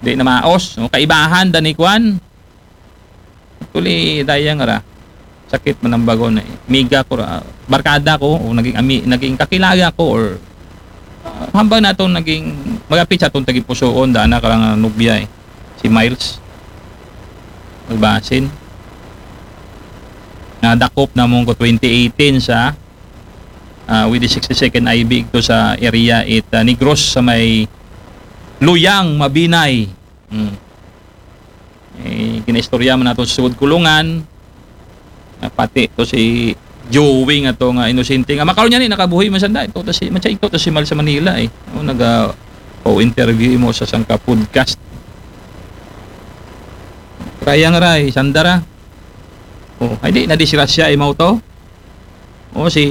Di na maos. No? Kaibahan da ni kwan. Actually, daya nga ra. Sakit man ang bago na eh. Miga ko ra, barkada ko, o naging, ami, naging kakilala ko, or, ah, hambang na itong naging, magapit sa itong tagipusoon, daan na karang nubya eh. Si Miles. Magbasin. Nadakop na mong ko twenty eighteen sa, ah, with the sixty-second I B ito sa area it, ah, Negros sa may Luyang, Mabinay. Hmm. Eh, kinaistorya man nato sa sugod kulungan. Ah, pati to si Joey nga to nga inosente nga makaron niya ni nakabuhi man sanda. Ito to si, matsa ito to si Mal sa Manila eh. O, naga, o interview mo sa sangka podcast. Kaya nga ray, sanda ra. O, ay di, nadisgrasya, imaw to. O, si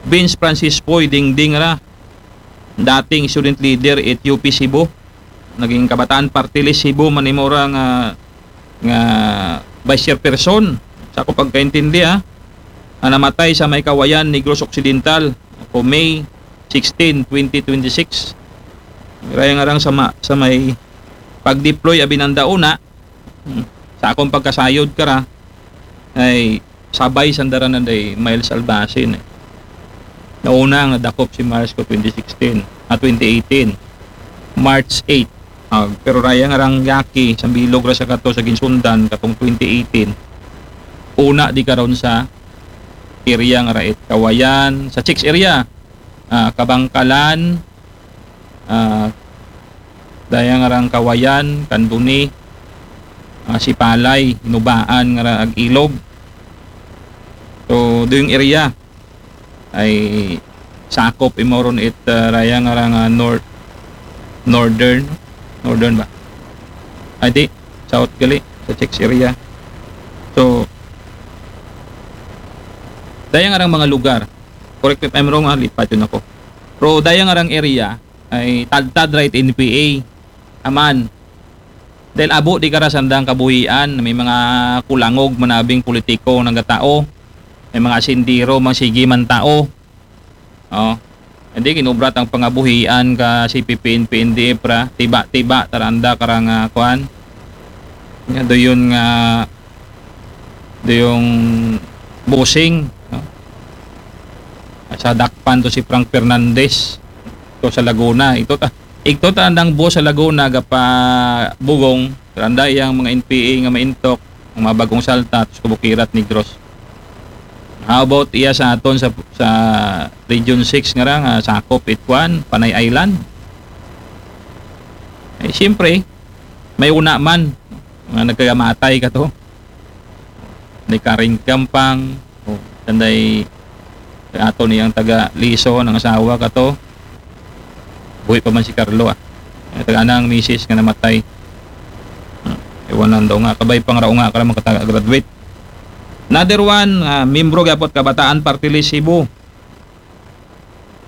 Vince Francis Poy, Dingding ra. Dating student leader at U P Cebu. Naging Kabataan Party List Cebu, manimura nga, nga vice chairperson. Sa ako pagkaintindi, ha, na namatay sa may Kawayan, Negros Occidental, ko May sixteen, twenty twenty-six. Raya nga rang sa, ma, sa may pag-deploy abinanda una, hmm, sa akong pagkasayod kara, ay sabay sanda ra na day Miles Albasin eh. Nauna nga dakop si Miles ko twenty sixteen, ah, twenty eighteen, March eight. Ah, pero raya nga rang yaki, sa bilog ra sa kato sa ginsundan, katong twenty eighteen. Una di karon sa area nga rait, Kawayan, sa Chicks area, ah, Kabangkalan, ah, daya nga rang Kawayan, Kanduni, ah, Sipalay, Inubaan nga ra ag Ilog. So, doyong area ay sakop imo ron it, ah, raya nga rang, ah, north, northern, northern ba? Ay, di, south gali, sa Chicks area. So, daya nga rang mga lugar. Correct me if I'm wrong, ha, lipat yun ako. Pero daya nga rang area, ay tadtad ra it N P A. Aman. Dahil abo di kara sandang kabuhian, may mga kulangog manabing politiko nga gatao, may mga sindiro, mga sige man tao. Oh. Hindi, kinubrat ang pangabuhian ka C P P, N P, N D F ra, tiba-tiba, taranda, karang, ah, kwan. Nga, doon nga, doon bossing, no? Sa dakpan to si Frank Fernandez, to sa Laguna. Ito ta, ito ta andang boss sa Laguna, gapa bugong, taranda iyang mga N P A nga maintok, ang mga bagong salta, to sa Kabukirat, Negros. How about iya sa aton sa, sa Region six nga ra, nga sakop it kwan, Panay Island? Eh, siyempre, may una man, nga nagkagamatay ka to. Ni Karing Gampang, o, tanday, ato niyang taga Liso, ang asawa ka to. Buhi pa man si Carlo, ah. Ang taga anang misis nga namatay. Hmm. Iwanan daw nga, kabay pang raunga ka naman kataga graduate. Another one, ah, membro gapot Kabataan Party List Cebu.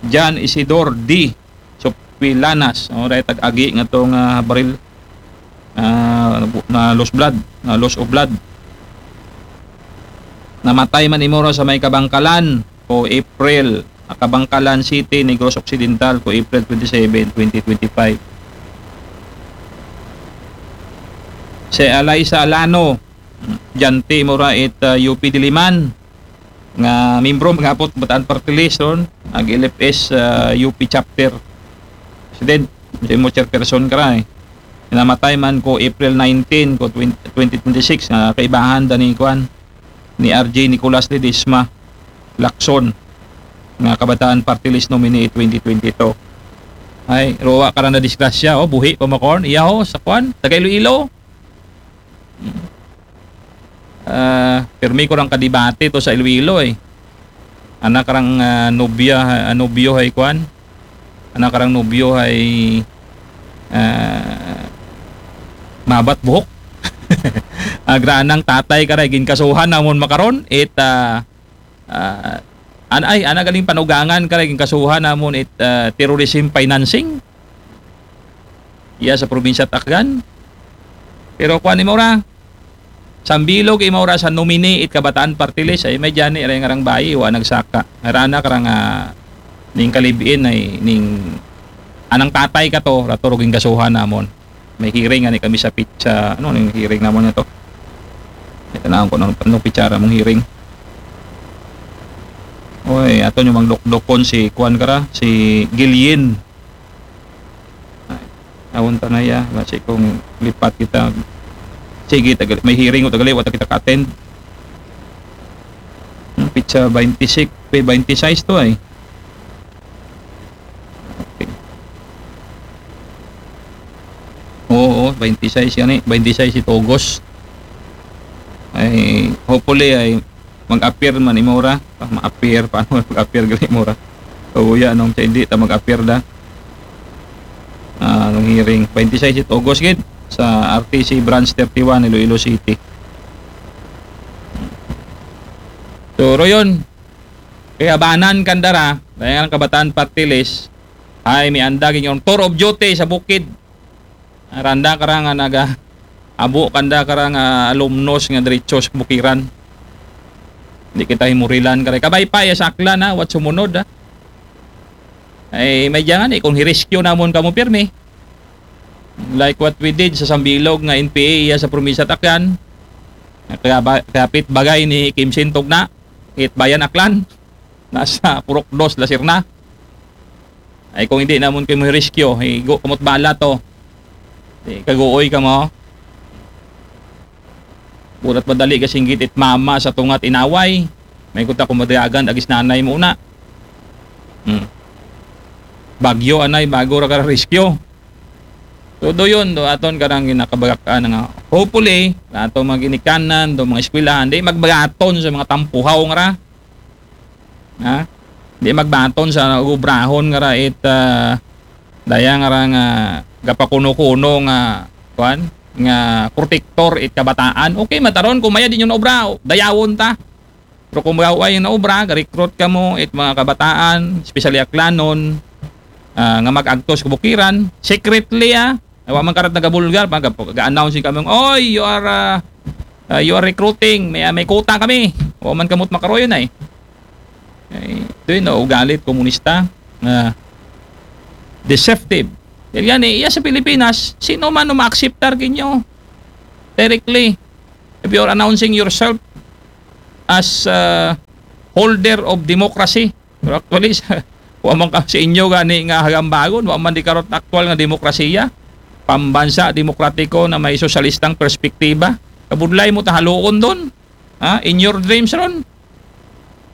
John Isidor D. Sopilanas. O, right, tag-agi nga to nga baril. Ah, na loss blood, na loss of blood. Namatay man imura sa may Kabangkalan ko April Kabangkalan City, Negros Occidental, ko April twenty-seven, twenty twenty-five. Si Alaysa Alano, dyan ti imo ra it, ah, U P Diliman, nga membro, mag-apot, Bataan Party List, ron, ag L F S, ah, U P Chapter President, imo chairperson ka ra, eh. Namatay man ko April nineteen ko twenty, twenty twenty-six, nga kaibahan da ni, kuan, ni R J Nicolas Ledesma Lacson, nga Kabataan Party List nominee twenty twenty-two. Ay, ruwa ka ra na disgrasya, oh, buhi pa, Makorn. Iya, ho, sa kuan, taga Iloilo. Ah, pirmi ko rang kadibati to sa Iloilo, eh. Anak rang, ah, nobya, ah, nobyo hay kuan. Anak rang nobyo hay, ah, mabat buhok. Agra nang tatay ka ra, ginkasuhan namon makaron, it, ah, ah, an-, ay, ana galing panugangan ka ra, ginkasuhan namon it, ah, terrorism financing. Iya sa probinsya Aklan. Pero kuan imo ra, sambilog imo ra sa nominee it Kabataan Party List, ay may dyan ni, aray nga rang bayi, wa nagsaka. Aray anak ra nga ning kalibin ay ning anang tatay ka to, rato ro ginkasuhan namon. May hearing ani kami sa pit-, sa, ano, ning hearing namon na to. Ito na ko, ano, ano pitsara mong hearing? Oy, ato yung mangdokdokon si kuan ka ra, si Gillian. Ay, awon ta na ya, basi kung lipat kita. Sige, tagal, may hearing o tagali, wa ta kita ka-attend. Hmm, pitsa twenty-six, pe, twenty-six to ay. Okay. Oo, twenty-six yan eh. Twenty-six si Togos. Ay, hopefully ay mag-appear man imo ra. Ah, ma-appear, paano mag-appear gali imo ra? O ya, nung sa hindi ta mag-appear da. Ah, nung hearing, twenty-six it August gid sa R T C Branch thirty-one, Iloilo City. So, ro yun. Kaya banan kandara, dahil nga Kabataan Party List, ay may anda gid yung tour of duty sa bukid. Randa ka ra nga naga-, abo kanda ka ra nga alumnos nga diretso sa bukiran. Di kita himurilan ka ra. Kabay pa, ya sa Aklan, ha, what sumunod, ha? Ay, may diyan nga, eh, kung hi-rescue namon kamo pirmi. Like what we did sa Sambilog nga N P A, iya sa probinsya Aklan. Kaya ba, kapit bagay ni Kim Sintog na, it Bayan Aklan. Nasa Purok Dos, Lasirna. Ay, kung hindi namon kayo rescue, higo kamot bala to. Di, kaguoy ka mo. Burat madali ka singgit it mama sa tungat inaway. May kuta kung madayagan, agis nanay mo una. Hmm. Bagyo, anay, bago ra ka rescue. So, do yun, do aton karang ginakabagakan nga. Hopefully, na ato mga ginikanan, do mga eskwelahan, di magbagaton sa mga tampuhaw nga ra. Ha? Di magbaton sa ubrahon nga ra it, ah, daya nga ra nga gapakuno-kuno nga, kuan, nga protektor it kabataan. Okay, mataron kung maya di nyo na obra, dayawon ta. Pero kung magaway yung naobra, ga-recruit ka mo, it mga kabataan, especially Aklanon, ah, nga mag-agtos kabukiran, secretly, ah, ay, wa man karat nagabulgar, pag, ga-announce kami, "Oy, you are, ah, ah, you are recruiting, may, ah, may quota kami." Wa man kamot makaroyon ay. Ay, ito yun, no, ugalit komunista. Ah, deceptive. Dahil yan, eh, iya sa Pilipinas, sino man ang ma-acceptar kinyo? Directly. If you're announcing yourself as, ah, holder of democracy, pero actually, sa, wa man ka sa inyo gani nga hagambagon, wa man di karot aktual nga demokrasiya, pambansa demokratiko na may sosyalistang perspektiba. Kabudlay mo tahaluon doon. Ha? In your dreams ron.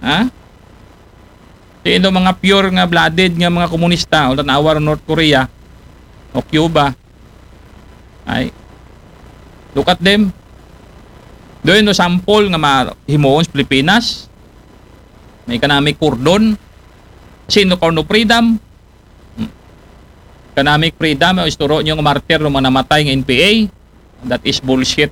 Ha? Di ito mga pure nga blooded nga mga komunista, o tanawa ron North Korea o Cuba. Ay. Look at them. Doon no sample nga mahimuon sa Pilipinas. May economic cordon. Sino ka no freedom? Hmm. Economic freedom, ang isturo nyo nga martir ng mga namatay nga N P A. That is bullshit.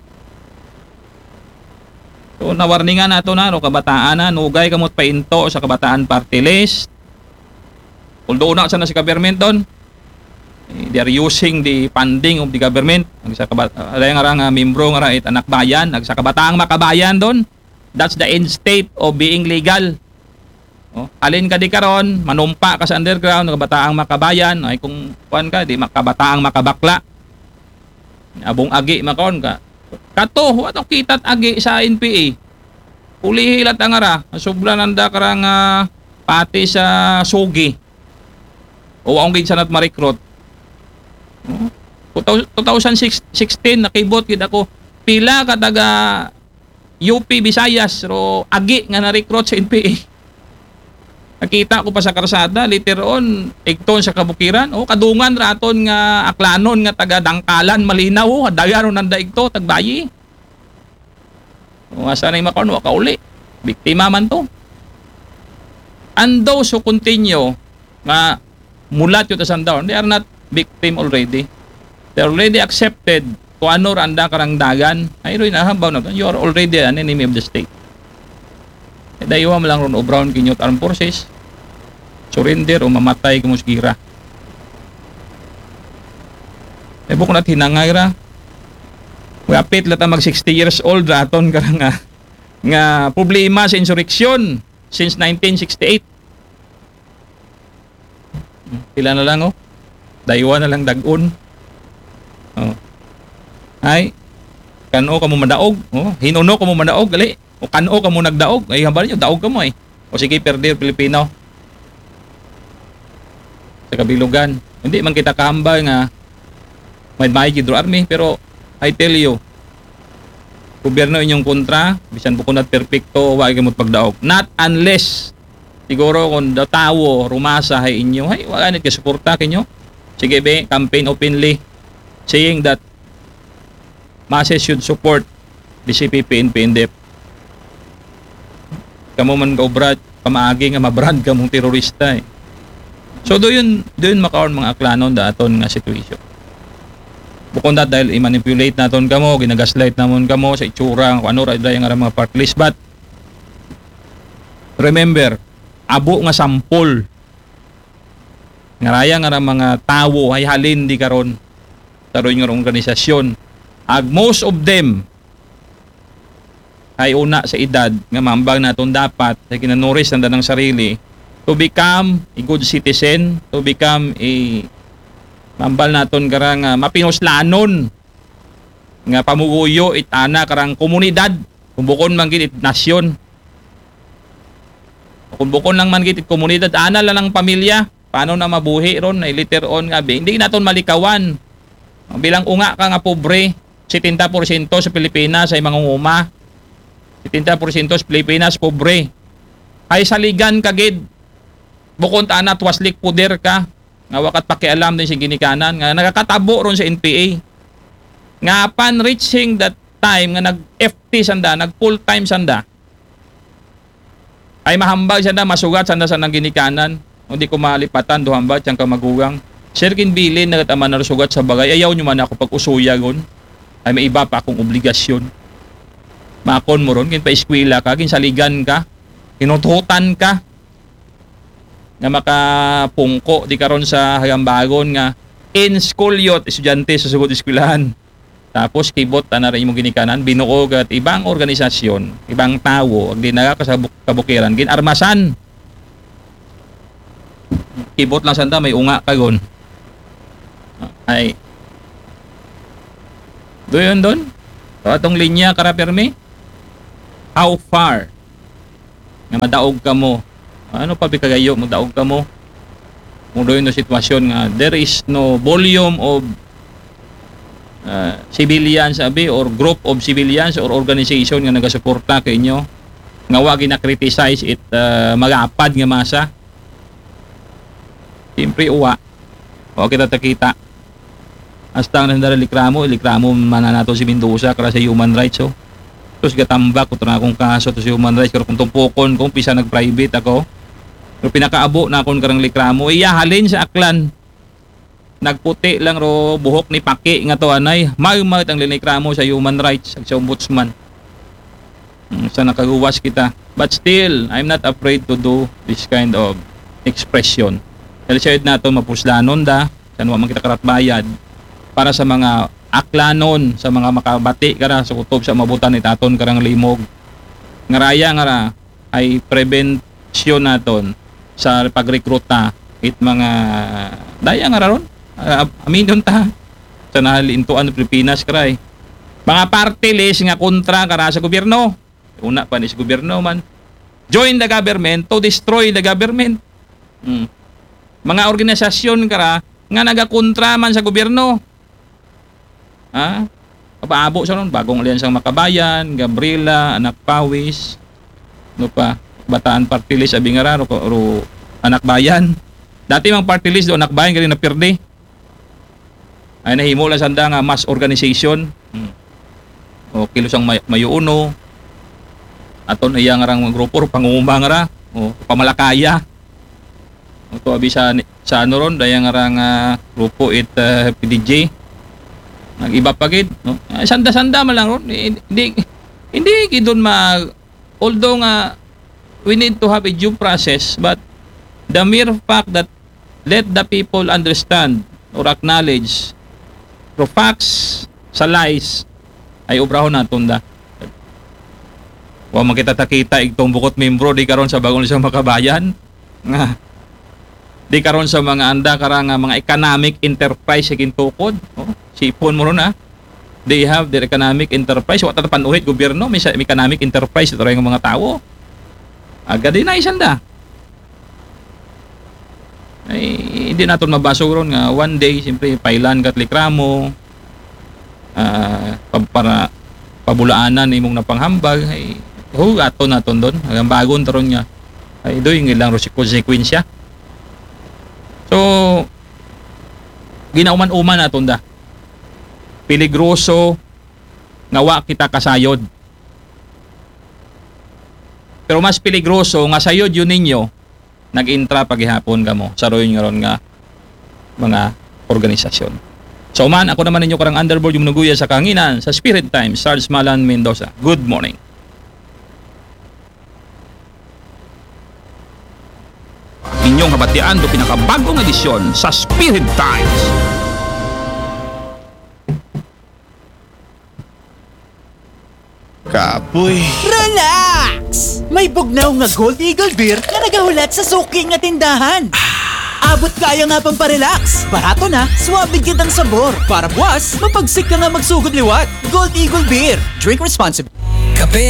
So, nawarningan nato na, no, kabataan na, nugay kamot painto sa kabataan party list. Although na sa na si government doon, eh, they are using the funding of the government. Ang sa kabat-, ah, nga ra nga membro nga ra it anak bayan, ang sa kabataang makabayan doon. That's the end state of being legal. Oh, alin ka di karon, manumpa ka sa underground, nga Bataang Makabayan, ay kung kuan ka, di makabataang makabakla. Abong agi makaon ka. Kato, wa to kita't agi sa N P A. Ulihi lat ang ara, sobra nanda karang ah, pati sa sugi. O akong gid sanat ma-recruit. Oh, two thousand sixteen, nakibot gid ako. Pila ka taga U P Visayas, ro agi nga na-recruit sa N P A. Nakita ko pa sa karsada, later on, igton sa kabukiran, oh, kadungan raton nga aklanon nga taga Dangkalan, Malinaw, oh, daga ron nanda igto, tagbayi. O, asa na yung makaon, wa kauli. Biktima man to. And those who continue nga mulat yun sa down, they are not victim already. They already accepted kung ano ra anda karang dagan. Ay, rin, nahambaw na to. You are already an enemy of the state. E, daywa mo lang ron obrahon kinyo armed forces. Surrender o mamatay kamo sa gira. E, bukon at hinangay ra. Wapit lata mag sixty years old ra aton karang nga, nga problema sa insurrection since nineteen sixty-eight. Pila na lang, oh. Daywa na lang dagon. Oh. Ay, kano kamo madaog? Oh, hinuno kamo madaog, gali. O kano kamo nagdaog? Ay, hambal nyo, daog kamo eh. O sige, perder Pilipino. Sa kabilugan. Hindi man kita kahambal nga may may gidro army, pero I tell you, gobyerno inyong kontra, bisan bukon at perpekto, wa gyud mo't pagdaog. Not unless, siguro kung da tawo, rumasa hay inyo, hay, wala nit kasuporta kinyo. Sige be, campaign openly, saying that masses should support the C P P, N P, N D F. Kamo man gaobra, pamaagi nga mabrand kamong terorista eh. So, do yun, do yun makaon mga aklanon da aton nga situation. Bukon dat dahil i-manipulate naton kamo, ginagaslight namon kamo sa itsura, kung ano ra dahil nga mga part list. But, remember, abo nga sampol, nga raya nga ra mga tawo, ay halin di karon, sa nga organisasyon. Ag most of them, ay una sa edad, nga mambag naton dapat, sa ginanuris ng danang sarili, to become a good citizen, to become a, mambal naton karang, ah, mapinuslanon, nga pamuguyo, it ana karang komunidad, kung bukon man gid it nasyon. Kung bukon lang man gid it komunidad, ana lang ang pamilya, paano na mabuhi ron, ay later on nga, be, hindi naton malikawan. Bilang unga ka nga pobre, setenta porsyento sa Pilipinas ay mangunguma. Setenta porsyento sa Pilipinas, pobre. Ay saligan ka gid. Bukon ta ana, twaslik puder ka. Nga wakat pakialam din sa ginikanan. Nga nakakatabo ron sa N P A. Nga upon reaching that time, nga nag-F T sanda, nag-full time sanda. Ay mahambal sanda, masugat sanda sa nang ginikanan. O di ko malipatan, duhambal, siyang kamagugang. Sir, kinbilin na ama na sugat sa bagay. Ayaw nyo man ako pag-usuyagon. Ay may iba pa akong obligasyon. Makon mo ron, ginpa-eskwela ka, ginsaligan ka, kinuthutan ka, nga makapungko di karon sa hagambagon nga in school youth, estudyante sa sugod eskwelahan. Tapos kibot ana ra imong ginikanan, binuo gat ibang organisasyon, ibang tawo, ag di na ka sa buk-, kabukiran, ginarmasan. Kibot lang sanda, may unga kagon. Ay. Do yun doon? So, atong linya, kara permi? How far? Nga madaog kamo. Ano pa bikagayo, madaog kamo? Mudoy no sitwasyon nga, there is no volume of uh, civilians, abi, or group of civilians or organization nga nagasuporta kay inyo, nga wa gina-criticize it uh, magapad nga masa. Siyempre, uwa. Wa kita takita. Hasta ang nandara likramo, likramo man na nato si Mendoza kara sa human rights, oh. Tapos gatambak ko na akong kaso to sa human rights, pero kung tumpukon ko, pisa nag-private ako. Pero pinakaabo na akong karang likramo, iya halin sa Aklan. Nagputi lang ro buhok ni Paki nga to anay. May ang linikramo sa human rights, sa ombudsman. Mm, sa nakaguwas kita. But still, I'm not afraid to do this kind of expression. Dahil siya nato mapuslanon da, sa wa man kita karatbayad, para sa mga aklanon, sa mga makabati kara sa kutob sa mabutan ni taton karang limog. Nga raya nga ra, ay prevent aksyon naton sa pagrekruta it mga daya nga raron. Ah, aminon ta sa nahalintuan ng Pilipinas, kara, eh. Mga party list nga kontra kara sa gobyerno. Una pa ni sa gobyerno man. Join the government to destroy the government. Hmm. Mga organisasyon kara nga nagakontra man sa gobyerno. Ha? Papaabo sa ron, Bagong Alyansang Makabayan, Gabriela, Anak Pawis, no pa, Bataan Party List, abi nga ra, ro, ro, Anak Bayan. Dati mang party list do, Anak Bayan, galing na pirdi. Ay nahimo lang sanda nga mass organization. Hmm. O, Kilusang May-, Mayo Uno. Aton iya nga rang grupo, ro pangumang ra. O, pamalakaya. O, to, abi sa, sa ano ron, daya nga rang, ah, grupo it, ah, P D G. Nag-iba pa gid, no? Ah, sanda-sanda man lang ron. Eh, hindi, hindi gid doon ma-, although nga we need to have a due process, but the mere fact that let the people understand or acknowledge through facts sa lies ay obrahon naton da. Wa man kita takita igtong bukot membro di karon sa Bagong Alyansang Makabayan. Nga, di karon sa mga anda kara nga mga economic enterprise sa gintukod, no? Sipon mo ron, ha? They have their economic enterprise. Wa ta panuhit gobyerno, may sa-, may economic enterprise ito rin mga tao. Aga din na isanda. Ay, hindi naton mabasog ron nga one day, siyempre, pailan kat reklamo, ah, pa-, para pabulaanan imong napanghambag, ay, ho, aton naton doon. Ang bagon taron nga, ay, doy, ngilang ro si konsekwensya. So, ginauman-uman naton da. Peligroso nga wa kita kasayod. Pero mas peligroso nga sayod yun ninyo, nag-intra pa gihapon kamo sa royon nga ron nga mga organisasyon. So man, ako naman ninyo karang underboard yung nuguya sa kanginan sa Spirit Times, Sarge Malan Mendoza. Good morning. Inyong habatian do pinakabagong edisyon sa Spirit Times. Kapoy. Relax! May bugnaw nga Gold Eagle Beer nga nagahulat sa suki nga tindahan. Abot kaya nga pang pa-relax. Barato na, suabe gid ang sabor. Para buwas, mapagsik ka nga magsugod liwat. Gold Eagle Beer. Drink responsibly. Kape